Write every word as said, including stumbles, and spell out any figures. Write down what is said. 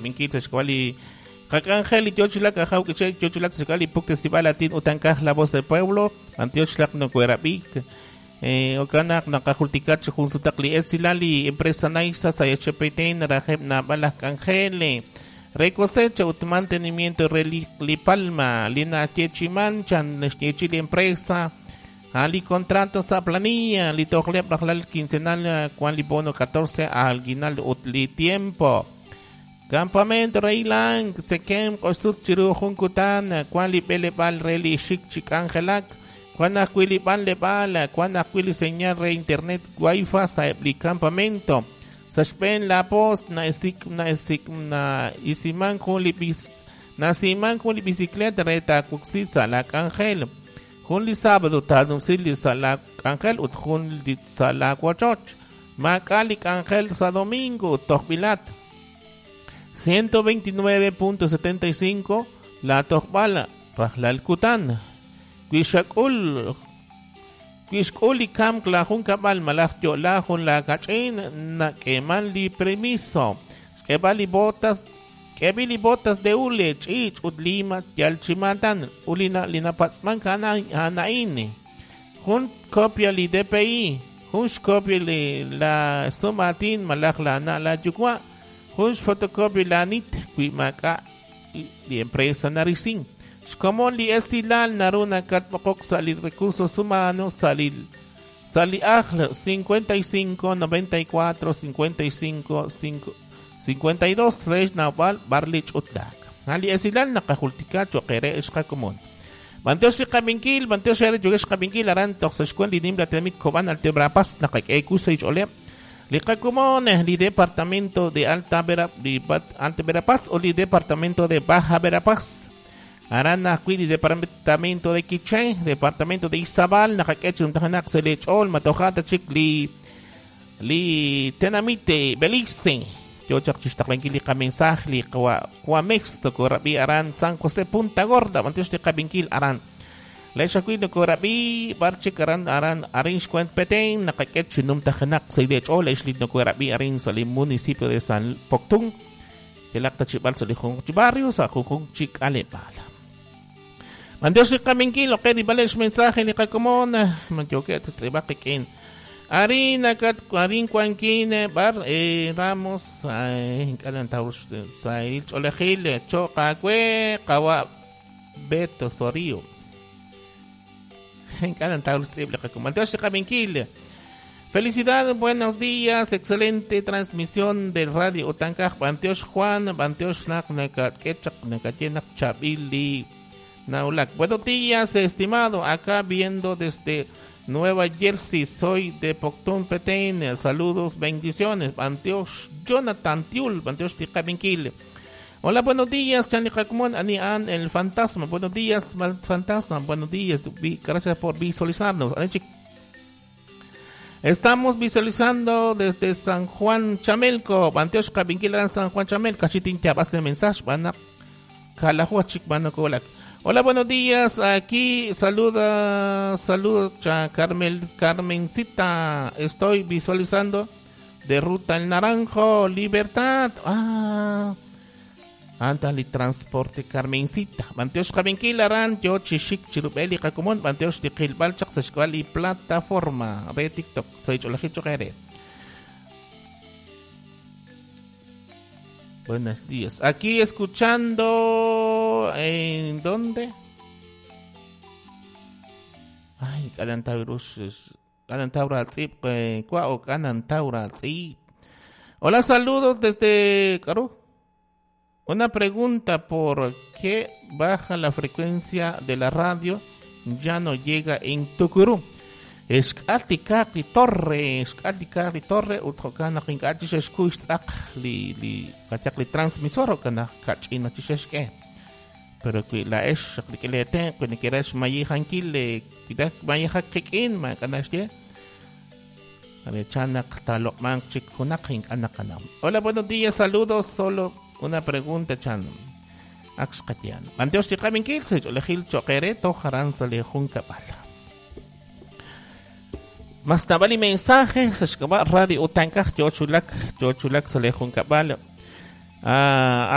qabinkil sa xk'ab'a' li qak'anjel li yochulak ajaw k'iche' yochulak sa xk'ab'a' li Puktesib'al Latin utankaj La Voz del Pueblo antioxlaq nokuerab'ik eh okanak naqajultikat chi jun sutaq li esilal li empresa Naisa sa H P T rajeb naab'al aj k'anjel re cosecha ut mantenimiento re li, li palma li nayeechiman chan naxyeechi li empresa ali contrato sa planilla li tojleb rajlal quincenal cuan li bono catorce aguinaldo ut li tiempo. Campamento Reilang, Tsekem, Q'osut chiru jun kutan, cuan li b'eleb'aal re li xik chi k'anjelak, cuan ajwi' li b'anleb'aal, cuan ajwi' li señal re internet wifi sa eb' li campamento. Sa xb'een la post na isik na isik na isiman jun li bis nasiman jun li bicicleta re taawoksi sa la k'anjel. Jun li sábado taanumsi li sa la k'anjel ut jun li sa la wochoch. Maak'a' li k'anjel sa domingo ut tojb'ilat. ciento veintinueve punto setenta y cinco la tojb'al rajlal kutan. Wi xak'ul wi xk'ul li kamk la junkab'al malaj yo'la jun la kach'in nak'eeman li permiso. Xk'eeb'al li botas k'eeb'il li botas de hule, ch'iich' ut lima yal chimatan ulina linapatz'man hana'in. Jun copia li D P I, jun xcopia li la sumatin malaj la na la yuwa', jun xfotocopia la N I T wi maak'a' li empresa narisin. Xkomon li esilal naru nakatb'oqok sa li recursos humanos sa li sa li ajl cincuenta y cinco noventa y cuatro cincuenta y cinco cinco cincuenta y dos re xnawb'al b'ar li ch'utlaak. Ali esilal naqajultika cho'q re xqakomon. B'antiox li qabinkil, b'antiox re yogex qabinkil aran toj sa xkuen li nimla tenamit Cobán Alta Verapaz naqak'e sa ich'oleb'. Li qakomon li departamento de Alta Vera, li Alta Verapaz o li departamento de Baja Verapaz. Aran ajwi' li departamento de Quiché, departamento de Izabal, naqak'e chuntajanak sa lech'ol matojata chik li li tenamite Belice. Yo chaq chixtaqlankil li qamensaje li qawa Qamex tokorab'i aran San José Punta Gorda, b'antiox li qabinkil aran. Lex ajwi' nokorab'i b'ar chik aran aran arin xkuent Petén naqak'e chinumtajanak sa lech'ol ex li nokorab'i arin sa li municipio de San Poctún. Yalaq tachib'al sa li junjunq chi barrio sa junjunq chi k'aleb'aal. B'antiox li qabinkil oke di b'alex mensaje li qakomon manyoke tz'ib'aq qik'in. Arin nakat arin kuankin bar eh, Ramos ay kalan tawr sa il cholejil choqa kwe qawa Beto Sorio. Kalan tawr tz'ib li qakomon. B'antiox li qabinkil. Felicidades, buenos días, excelente transmisión del radio Utankaj, B'antiox Juan, b'antiox nak nakat ketchak nakatyenak chabili Naulak. Buenos días, estimado, acá viendo desde Nueva Jersey, soy de Poctún Petén, saludos, bendiciones, b'antiox Jonathan Tiul, b'antiox Tikabinkil. Hola, buenos días, Chanli Jacumón, Ani An, el fantasma, buenos días, fantasma, buenos días, gracias por visualizarnos. Estamos visualizando desde San Juan Chamelco, b'antiox Kabinkil San Juan Chamelco, Chitin te mensaje, van a Hola, buenos días. Aquí saluda, saluda Carmel, Carmencita. Estoy visualizando de Ruta El Naranjo, Libertad. Ah, Antali Transporte Carmencita. B'antiox Kabinkil aran, yo chishik chirubeli kakumon, b'antiox tiqilbal chaq y plataforma de TikTok. Soy Cholajicho. Buenos días. Aquí escuchando. ¿En dónde? Ay, Kalantaurus. Kalantaura o Kanantaura. Hola, saludos desde Caro. Una pregunta: ¿por qué baja la frecuencia de la radio? Ya no llega en Tucurú. Xk'altikaq li torre, xk'altikaq li torre ut jo'kan naq ink'a' chixexkuy xtz'aq li li qachaq li transmisor jo'kan naq kach'ina chixexk'e. Pero wi la'ex rik'in wi neke'raj xmayijankil wi mayijak qik'in maak'a' naxye. Chan naq taloq'manq chik junaq ink'a' naqanaw. Hola, buenos días, saludos, solo una pregunta chan. Ak xqatyan. B'antiox li qabinkil sa ch'oolejil cho'q eere toj aran sa li junkab'al. Mas nabali mensaje sa xk'ab'a' radio Utankaj yochulak yochulak sa li junkab'al. Ah,